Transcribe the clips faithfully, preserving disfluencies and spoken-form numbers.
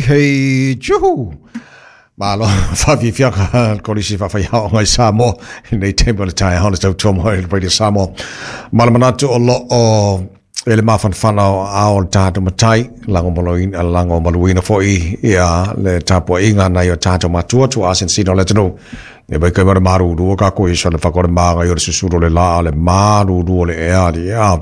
Hei juhu. Malo faafiafiaga kolisi faafaiaoga i Samoa i lenei taimi o le taeao le tautua mai le Radio Samoa. Ma le manatu o loo e le mafanafana o ao le tatou matai lagomaloina lagomaluina foi ia le tapuaiga nai o tatou matua tuaasinasina o le atunuu e vai kai ma le malulu ka ko i sona fakore maga i o le susulu le la le malulu o le ea li ea.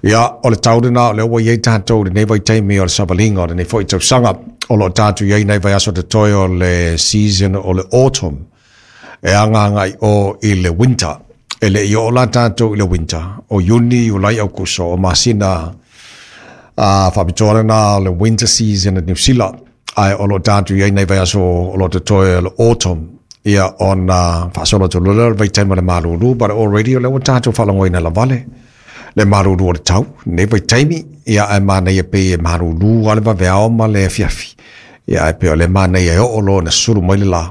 Ia, o le tau lena o lea ua iai tatou i lenei vaitaimi o le savaliga o lenei foi tausaga o loo tatou iai nai vaiaso totoe o le season o le autumn e agaagai o i le winter. E lei oo la tatou i le winter o Iuni, Iulai, Aukuso o masina a faapitoa lena o le winter season i Niu Sila, ae o loo tatou iai nai vaiaso o loo totoe o le autumn, ia ona faasolo atu loa lea o le vaitaimi o le malulu. But already o lea ua tatou faalogoina lavale le malulu o le tau nei vaitaimi, ia ae manaia pei e malulu a le vaveao ma le afiafi, ia ae pei o le manaia e oo loa na sulu mai le lā,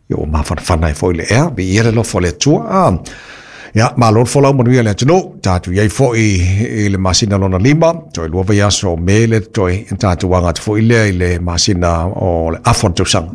ia ua mafanafana ai foi le ea viia le alofa o le Atua. A ia malo le folau manuia le atunuu tatou iai foi i le masina lona lima toe lua vaiaso o Me le totoe tatou aga atu foi lea i le masina o le afa o le tausaga.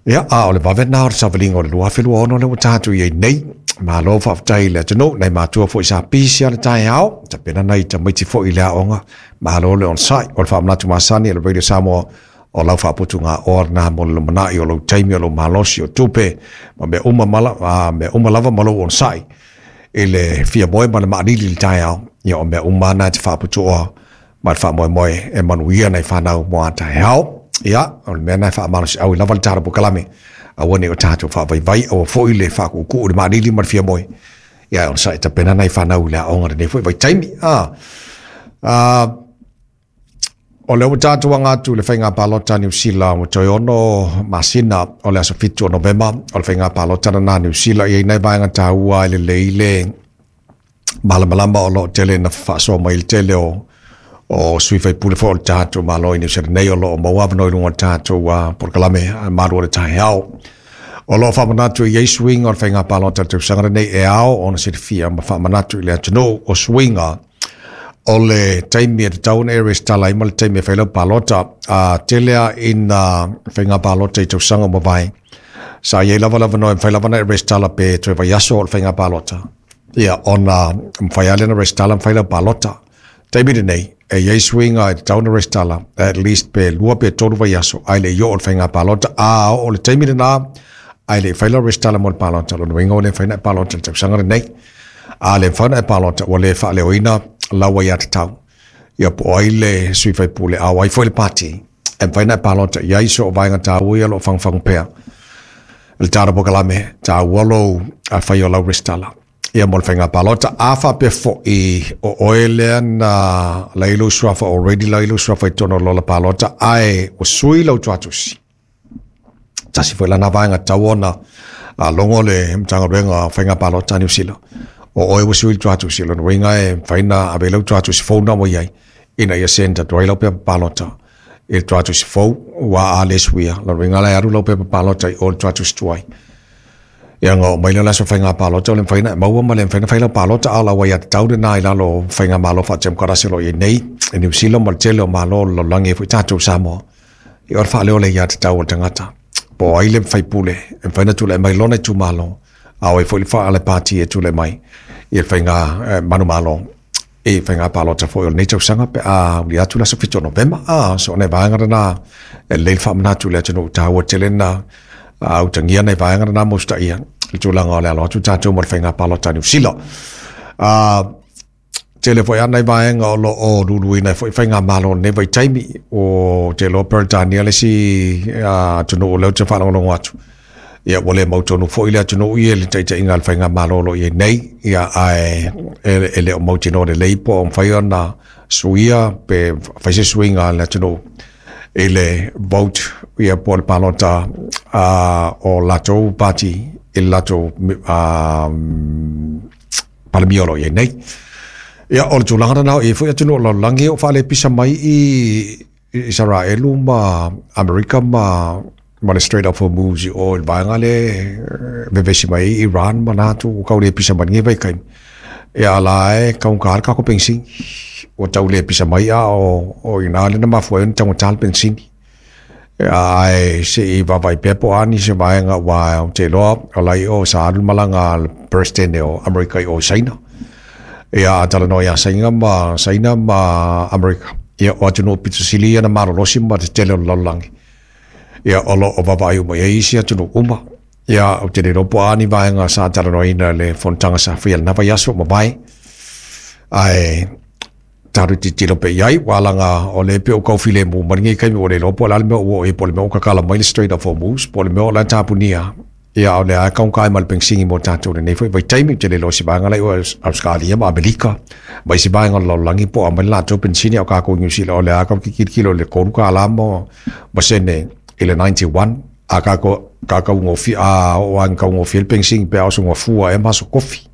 Ia, a o le vave lena o le savaliga o le lua afe lua ono lea ua tatou iai nei. Malo faafetai i le atunuu, nai matua foi sa pisi a le taeao, tapena nai tamaiti foi i le aoga. Malo le onosai. O le faamanatu masani a le Radio Samoa o lau faaputugaoa lena mo le lumanai o lou taimi o lou malosi o tupe ma mea uma mala, a mea uma lava ma lou onosai i le fia moe ma le maanili i le taeao. Ia o mea uma na e te faaputuoa ma le faamoemoe e manuia nai fanau mo a taeao. Ia, o le mea na e faamalosiau i lava le tala pokalame. Aua ne o tatou faavaivai, aua foi le faakuukuu le maanili ma le fia moe. Ia, o sa e tapena nai fanau i le aoga lenei foi vaitaimi. Ah, ah, o lea ua tatou aga atu i le faiga palota a Niu Sila ua toe ono masina o le aso fitu o Novema o le faiga palota lena a Niu Sila. I ai nai vaega taua e lelei le malamalama o loo tele na faasoa mai le tele o o sui faipule foi o le tatou Malo i Niu Sila nei o loo maua avanoa i luga o le tatou uh, polokalame malu o le taeao. O loo faamanatu i ai suiga o le faiga palota o le tausaga lenei e ao ona silafia ma faamanatu i le atunuu o suiga o le taimi e tatau ona e resitala ai ma le taimi e fai lau palota. A tele a ina faiga palota i tausaga ua mavae sa iai lava le avanoa e mafai lava ona e resitala pe toe vaiaso o le faiga palota, ia ona mafai lava lea ona resitala ma fai lau palota. Taimi lenei e iai suiga e tatau ona resitala at least pe lua pe tolu vaiaso ae le i oo le faiga palota. A oo le taimi lena ae le i fai lau resitala mo le palota, lona uiga ua le mafai ona e palota i le tausaga lenei. A le mafai ona e palota ua le faaleoina lau aiatatau, ia po o ai le sui faipule a o ai foi le pati e mafai ona e palota i ai. So o vaega taua ia o loo fagufagu pea le tala pokalame taua lou fai o lau resitala ia mo le faiga palota. A faapea foi o oe lea na lai lou suafa already, lai lou suafa i totonu o lola palota ae ua sui lau tuatusi, tasi foi lana vaega tatau ona logo le Matagaluega o Faiga Palota a Niu Sila o oe ua sui le tuatusi, lona uiga e mafai ona ave lau tuatusi fou na ua iai ina ia send atu ai lau pepa palota i le tuatusi fou ua a le suia. Lona uiga la e alu lau pepa palota i o le tuatusi tuai, ia ona oo mai lea o le aso faiga palota o le mafai ona e maua ma le mafai ona fai lau palota. A o lau aiatatau lena i lalo o faiga malo faatemokarasi o loo iai nei i Niu Sila ma le tele o malo o le lalolagi ai foi tatou Samoa. Ia o le faaleo o le aiatatau o le tagata po o ai le faipule e mafai ona tulai mai lona itumalo a o ai foi le faale pati e tulai mai i le faiga manumalo i faiga palota foi o lenei tausaga pe a uli atu le aso fitu o Novema. A so o nai vaega lena e lelei le faamanatu i le atunuu taua tele na utagia nai vaega lena mo usitaia le tulaga o le alo atu tatou mo le faiga palota a Niu Sila. A tele foi ana i vaega o loo luluina ai foi faigamalo o lenei vaitaimi o te iloa Peretania le isi atunuu o lea ou te faalogologo atu, ia ua le mautonu foi le atunuu ia i le taitaiga a le faigamalo o loo iai nei, ia ae e le o mautinoa lelei po o mafai ona suia pe fai se suiga a le atunuu i le vote ia po o le palota a o latou pati i le latou palemia o loo iai nei. Ia o le tulaga lena o i ai foi atunuu o le lalolagi o faalepisa mai i Isaraelu ma Amerika ma ma le Strait of Hormuz i o i le vaega le vevesi mai ai Iran ma latou ua tau lepisa mai lenei vaitaimi. Ia a la e taugata le tatou penisini ua tau lepisa mai a o o i ina lea na mafua ai ona taugata le penisini. Ai se i vaavaai pea po o a nisi o vaega uā ou te iloa o la i o sa alu le malaga a le Peresetene o Amerika i o i Saina. Ia a talanoa iā Saina ma Saina ma Amerika. Ia o atunuu pito sili ia na malolosi ma tetele o le lalolagi. Ia o lo o vaavaai uma i ai isi atunuu uma. Ia ou te le iloa po o a ni vaega sa talanoaina i le fonotaga sa faia i lena vaiaso ua mavae. Ae tatou tilotilo pea i ai, ua laga o lea pei ua tau filemu mai lenei taimi ua le iloa po o le a le mea ua oo i ai, po o le mea ua tatala mai le Strait of Hormuz, po o le mea o la e tapunia, ia a o lea lava e taugata ai ma le penisini mo tatou i lenei foi vaitaimi. Ou te le iloa i se vaega la i o Ausetalia ma Amerika ma isi vaega o le lalolagi po o aumai le latou penisini, a o tatou i Niu Sila o lea lava tatou te tilotilo i le tolu tala ma ma sene i le noventa i one. A tatou ka taugofie, a oo lava ina taugofie le penisini pe a oso gafua ea ma aso tofi.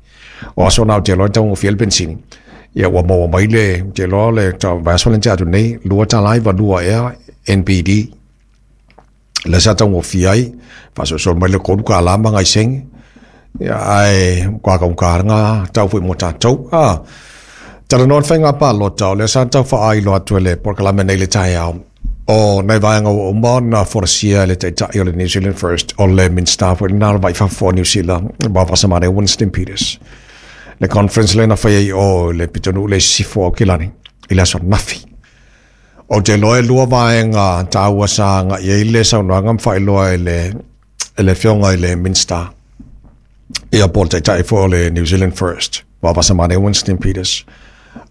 O aso na ou te iloa e taugofie ai le penisini. Ia ua maua mai le, ou te iloa le vaiaso lea na tea atu nei, lua tala iva lua ea N B D. Lea sa taugofie ai, faasoasoa mai le tolu tala ma nai sene. Ia ae matua taugata lena tau foi mo tatou. Ah, talanoa le faiga palota, o lea sa tau faaailoa atu e le polokalame nei le taeao. O nai vaega ua uma ona folasia e le taitai o le New Zealand First, o le Minista foi lena o le Vai Fafo o Niu Sila, Vaavasamane Winston Peters. Le conference lea na faia i o i le pitonuu le Sisifo o Aukilani i le aso ananafi. Ou te iloa e lua vaega taua sa agai ai le saunoaga ma faailoa e le, e le afioga i le Minista. Ia po o le taitai foi o le New Zealand First, Vaavasamane Winston Peters.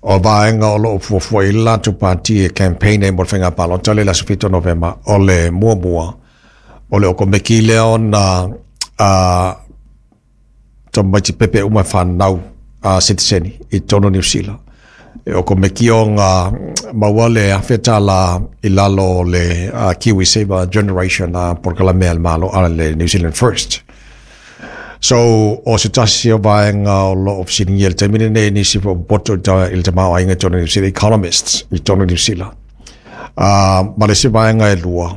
O vaega o lo o fuafua i le latou pati e campaign ai mo le faiga palota le i le aso fitu o Novema, o le muamua, o le okomeki lea ona uh, tamaiti pepe uma e whanau a sitiseni i totonu o Niu Sila. E okomeki ona maua le afe tala i lalo o le uh, Kiwi Saver Generation a polokalame a le Malo a le New Zealand First. So, o se tasi o vaega o lo o fesiligia i le taimi lenei nisi foi o popoto i le tamaoaiga i totonu o Niu Sila, economists i totonu o Niu Sila. Uh, ma le isi vaega e lua,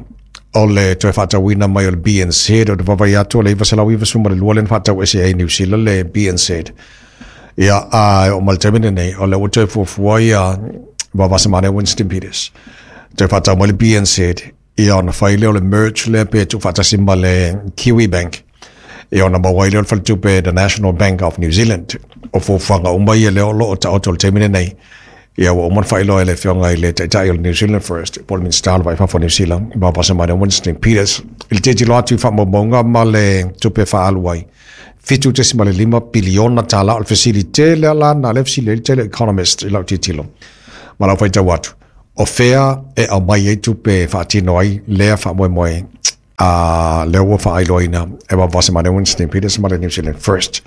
o le toe faatauina mai o le B N Z, o te vaavaai atu o le iva selau iva sefulu ma le lua lea na faatauese ai Niu Sila le B N Z. Ia, a oo mai le taimi lenei, o lea ua toe fuafua ia Vaavasamane Winston Peters. Toe faatau mai le B N Z, ia ona fai lea o le merge lea pe tuufaatasi ma le Kiwi Bank. Ia ona maua ai lea o le faletupe the National Bank of New Zealand. O fuafuaga uma ia lea o lo o taoto i le taimi lenei. Ia ua uma ona faailoa e le afioga i le taitai o le New Zealand First, po o le Minista o le Vai Fafo o Niu Sila, Vaavasamane Winston Peters, i le tilotilo atu i faamaumauga ma le tupe faaalu ai. Fitu tesima le lima piliona tala o le fesili tele ala na le fesili ai le tele economist i lau tilotilo. Ma lau faitau atu, o fea e aumai ai tupe faatino ai lea faamoemoe a lea ua faailoaina e Vaavasamane Winston Peters ma le New Zealand First.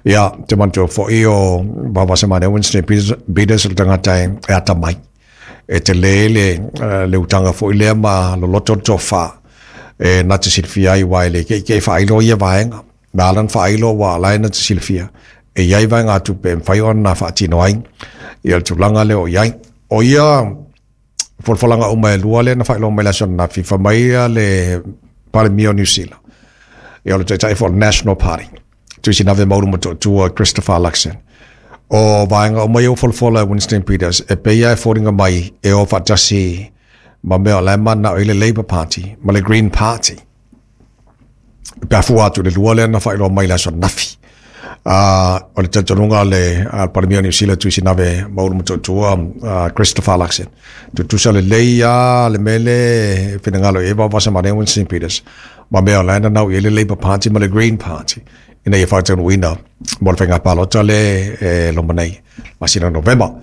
Ia, te manatua foi o Vaavasamane Winston Peters o le tagata e atamai. E te le le, le utaga foi lea ma loloto le tofa. E na te silafia ai ua e le keikei faailoa ia vaega. Na ala na faailoa ua ala e na te silafia. E iai vaega tupe e mafai ona faatino ai. Ia le tulaga lea o iai. O ia folafolaga uma e lua lea na faailoa mai le aso ananafi, fai mai ia le Palemia o Niu Sila. Ia o le taitai foi o le National Party. Tuisinave Mauru Motootua Christopher Luxon. O vaega uma ia ua folafola e Winston Peters, e pei e foliga mai e o faatasi ma mea o la e mananao ai le Labour Party ma le Green Party. Pe a fua atu i le lua lea na faailoa mai le aso ananafi. Uh, o le talitonuga le uh, Palemia o Niu Sila Tuisinave Mauru Motootua uh, Christopher Luxon. Tutusa lelei a le mele finagalo e Vaavasamane Winston Peters. Ma mea o la e nanao i ai le Labour Party ma le Green Party. Ina ia faataunuuina mo le faiga palota le e loma nei, masina o Novema.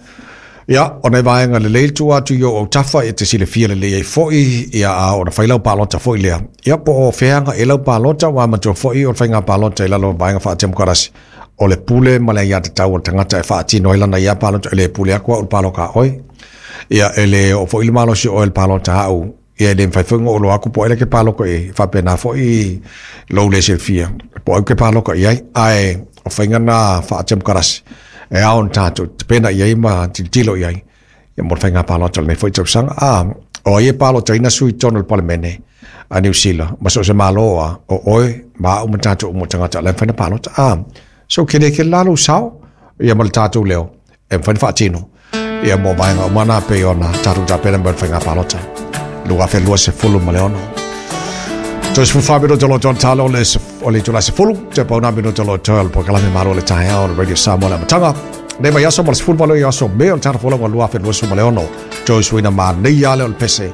Ia, o nai vaega lelei le tua atu i o autafa e te silafia lelei ai foi, ia a ona fai lau palota foi lea. Ia, po o feaga e lau palota, ua matua foi o le faiga palota i lalo o vaega faatemokarasi. O le pule ma le aiatatau o le tagata e faatino ai lana ia palota, e le pule atu au i le paloka a oe. Ia, e le oo foi le malosi o oe i le palota au. Ia, e le mafai foi ona ou iloa atu po o ai le ke paloka i ai, faapena foi lou le silafia, po o au ke paloka i ai. Ae, o faiga na faatemokarasi, e ao ona tatou tapena i ai ma tilotilo i ai. Ia mo le faiga palota o lenei foi tausaga. A, o ai e palotaina sui i totonu o le Palemene a Niu Sila, ma so o se Malo a, o oe, ma au ma tatou uma o tagata o la e mafai ona palota. A, so kele kele la lou sao, ia ma le tatou leo, e mafai ona faatino. Ia mo vaega uma na pei ona tatou tapena mo le faiga palota. lua afe lua sefulu ma le ono. Toe sefulufa minuta o lo o talo le o le itula sefulu, te pau nā minuta o lo o le polokalame Malo le Taeao o le Radio Samoa le amataga. Nei mai aso ma le sefuluvalu i aso Me o le tausaga folauga lua afe lua ma le ono. Toe suina ma nei ale o le pese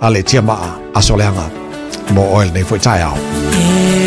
a le tia maa aso leaga mo oe lenei foi taeao.